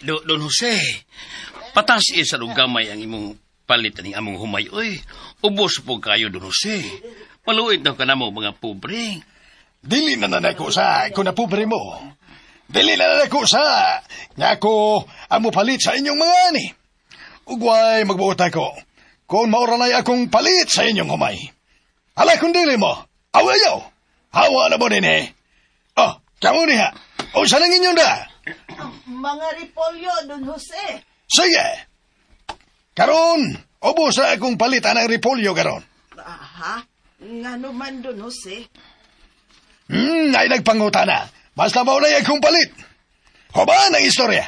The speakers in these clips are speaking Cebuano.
Don Jose, patas isa og gamay ang imong palit aning among humay. Uy, ubos po kayo, Don Jose. Maluit na ka na mo, mga pobre. Dili na nanako sa kung napobre mo. Dili na nanako sa nga ako ang mopalit sa inyong mga ani. Ugway magbuot ako kung maoranay akong palit sa inyong humay. Ala kung dili mo, awayaw. Hawa na mo din eh. Oh, kamo niya. O sa nang inyong da? Mga repolyo, Don Jose. Sige. Karon, ubos na akong palit anang repolyo karon. Aha, ngano man, Don Jose? Ay nagpanguta na. Basta maunay akong palit. Hubaan ang istorya.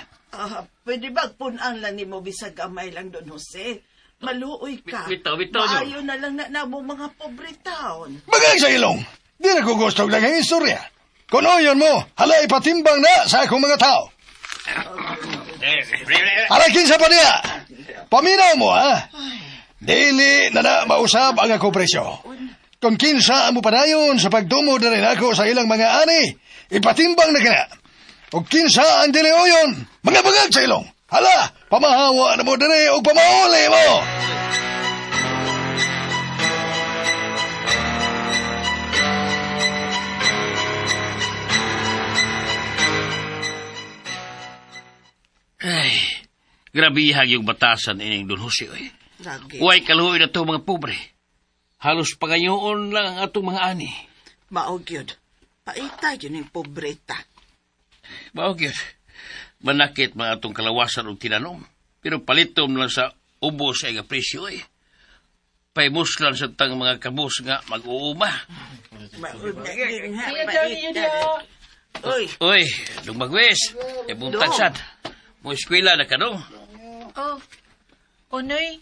Pwede ba punan lang ni mo bisag gamay lang, Don Jose? Maluoy ka. Bitaw, bitaw, Maayo na lang na namo mga pobre taon. Bagay sa ilong. Di na ko gusto lang ang istorya. Kung oyon mo, halay patimbang na sa akong mga tao. Halakin sa pa niya. Paminaw mo, ha? Dili na na mausab ang ako presyo. Kung kinsa ang mupadayon sa pagdumo na rin ako sa ilang mga ani, ipatimbang na kina. O kinsa ang dili oyon, mga bagag sa ilong. Hala, pamahawa na mo diri o pamahuli mo. Ay, grabe yung batasan ining Don Jose. Oy. Lagi. Uway kaluoy na to mga pobre. Halos pangayoon lang ang atong mga ani. Mao gyud. Paita yun yung pobreta. Mao gyud. Manakit mga atong kalawasan og tinanom. Pero palitom lang sa ubos ay nga presyo eh. Paimuslan sa tang mga kabus nga mag-uuma. Mao na gyud nga, paita. Uy, Uy, dong magwes. E buntag Dong. sad. Mo eskwela na ka dong. Oh, Onoy.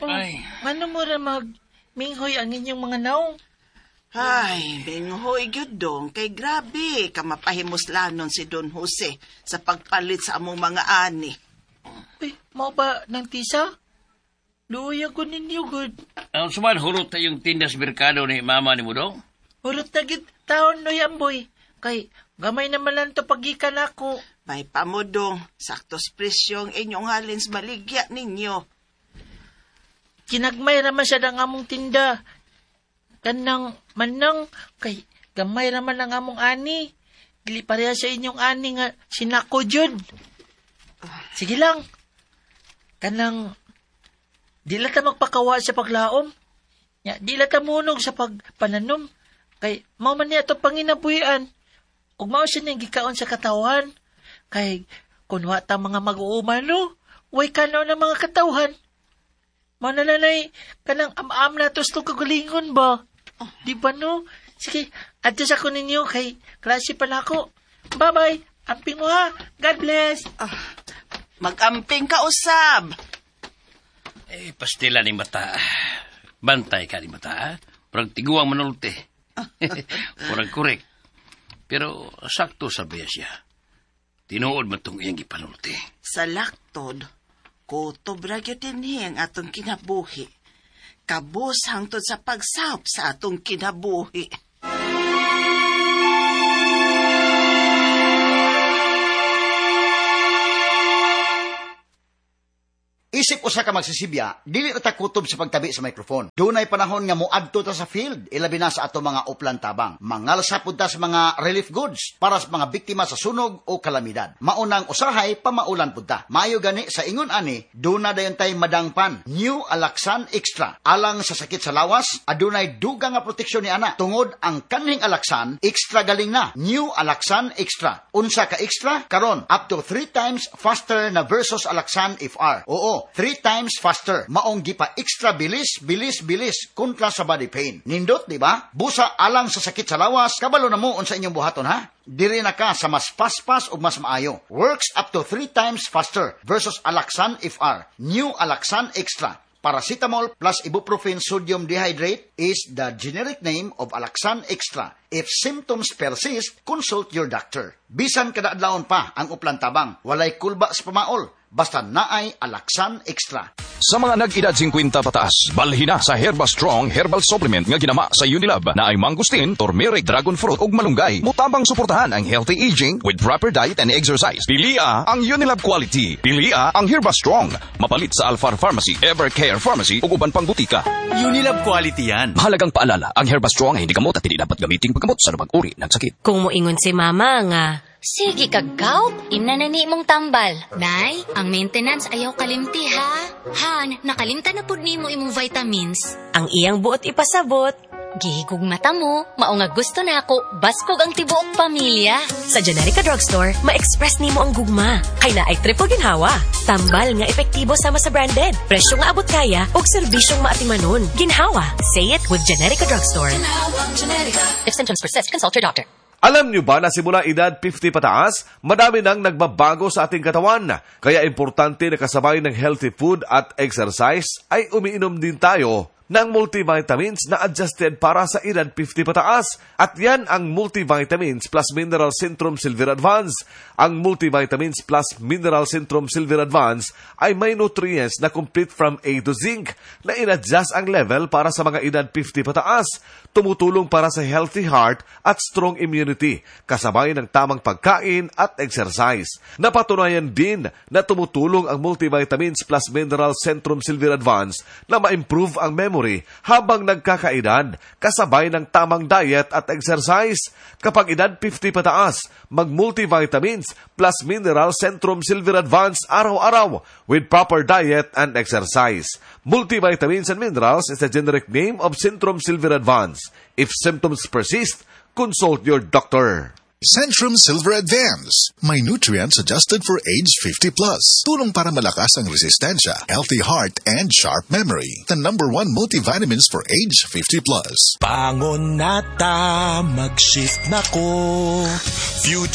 Oh, Ay. Ngano mo ra mag minghoy ang inyong mga naong? Ay, binghoy gyud dong kay grabe ka mapahimuslanon si Don Jose sa pagpalit sa among mga ani. Uy, mao ba nang tisa? Luoy ako ninyo gud. Ang suman hurot na yung tindas merkado ni mama ni mo dong. Hurot na gid taon noy amboy. Kay gamay naman lang to pagikan ako. May pamudong, saktos presyo ang inyong halin sa baligya ninyo. Kinagmay raman siya ang among tinda. Kanang manang kay gamay raman ang among ani. Dili pareha sa inyong ani nga sinako jud. Sige lang. Kanang di lang ta magpakawa sa paglaom. Ya, di lang ta munog sa pagpananom. Kay mao man niya atong panginabuhian. Ug mao siya niyang gikaon sa katawan. Kay kun wa ta mga mag-uuma no, way kanaw ng mga katawhan. Mao na lanay kanang am-am na tos tong kagalingon ba? Di ba no? Sige, adjust ako ninyo kay klase pa na ako. Bye-bye. Amping mo ha. God bless. Magamping ka usab. Eh, pastila ni mata. Bantay ka ni mata, ha? Parang tiguang manulti. Parang korek. Pero sakto sa biya siya. Tinuod man tong iyang gipanulti. Sa laktod, kutob ra gyud dinhi ang atong kinabuhi. Kabus hangtod sa pagsawp sa atong kinabuhi. Isip usa ka magsisibya, dili ra ta kutob sa pagtabi sa microphone. Dunay panahon nga moadto ta sa field, ilabi na sa ato mga uplan tabang. Mangalsa pud ta sa mga relief goods para sa mga biktima sa sunog o kalamidad. Maunang usahay pamaulan pud ta. Maayo gani sa ingon ani, duna dayon tay madangpan New Alaxan Extra. Alang sa sakit sa lawas, adunay dugang nga proteksyon ni ana. Tungod ang kanhing Alaxan extra galing na. New Alaxan Extra. Unsa ka extra? Karon up to 3 times faster na versus Alaxan FR. Oo, 3 times faster. Maong gipa extra bilis, bilis, bilis kontra sa body pain. Nindot, di ba? Busa alang sa sakit sa lawas, kabalo na mo unsa inyong buhaton ha? Diri na ka sa mas paspas o mas maayo. Works up to 3 times faster versus Alaxan FR. New Alaxan Extra. Paracetamol plus ibuprofen sodium dehydrate is the generic name of Alaxan Extra. If symptoms persist, consult your doctor. Bisan kada adlawon pa ang uplan tabang, walay kulba sa pamaol. Basta naay Alaxan Extra. Sa mga nag-edad 50 pataas, balhina sa Herba Strong Herbal Supplement nga ginama sa Unilab na ay mangustin, turmeric, dragon fruit ug malunggay. Mutabang suportahan ang healthy aging with proper diet and exercise. Pilia ang Unilab quality. Pilia ang Herba Strong. Mapalit sa Alfar Pharmacy, Evercare Pharmacy ug uban pang butika. Unilab quality yan. Mahalagang paalala, ang Herba Strong ay hindi gamot at hindi dapat gamiting paggamot sa anumang uri ng sakit. Kung moingon si mama nga, "Sige kag gout, imna na ni imong tambal." "Nay, ang maintenance ayaw kalimti ha. Han, nakalimtan na pud nimo imong vitamins." Ang iyang buot ipasabot, "Gihigugmata mo, mao nga gusto nako, baskog ang tibuok pamilya." Sa Generika Drugstore, ma-express nimo ang gugma. Kay naay triple ginhawa. Tambal nga epektibo sama sa branded. Presyo nga abot kaya ug serbisyong maatimanon. Ginhawa. Say it with Generika Drugstore. If symptoms persist, consult your doctor. Alam nyo ba na simula edad 50 pataas, madami nang nagbabago sa ating katawan. Kaya importante na kasabay ng healthy food at exercise ay umiinom din tayo ng multivitamins na adjusted para sa edad 50 pataas. At yan ang Multivitamins Plus Mineral Centrum Silver Advance. Ang Multivitamins Plus Mineral Centrum Silver Advance ay may nutrients na complete from A to zinc na in-adjust ang level para sa mga edad 50 pataas. Tumutulong para sa healthy heart at strong immunity, kasabay ng tamang pagkain at exercise. Napatunayan din na tumutulong ang Multivitamins Plus Mineral Centrum Silver Advance na ma-improve ang memory habang nagkakaedad, kasabay ng tamang diet at exercise. Kapag edad 50 pataas, mag-multivitamins plus mineral Centrum Silver Advance araw-araw with proper diet and exercise. Multivitamins and minerals is the generic name of Centrum Silver Advance. If symptoms persist, consult your doctor. Centrum Silver Advance. May nutrients adjusted for age 50 plus. Tulong para malakas ang resistensya, healthy heart, and sharp memory. The number one multivitamins for age 50 plus. Bangon na ta, mag-shift na ko. Future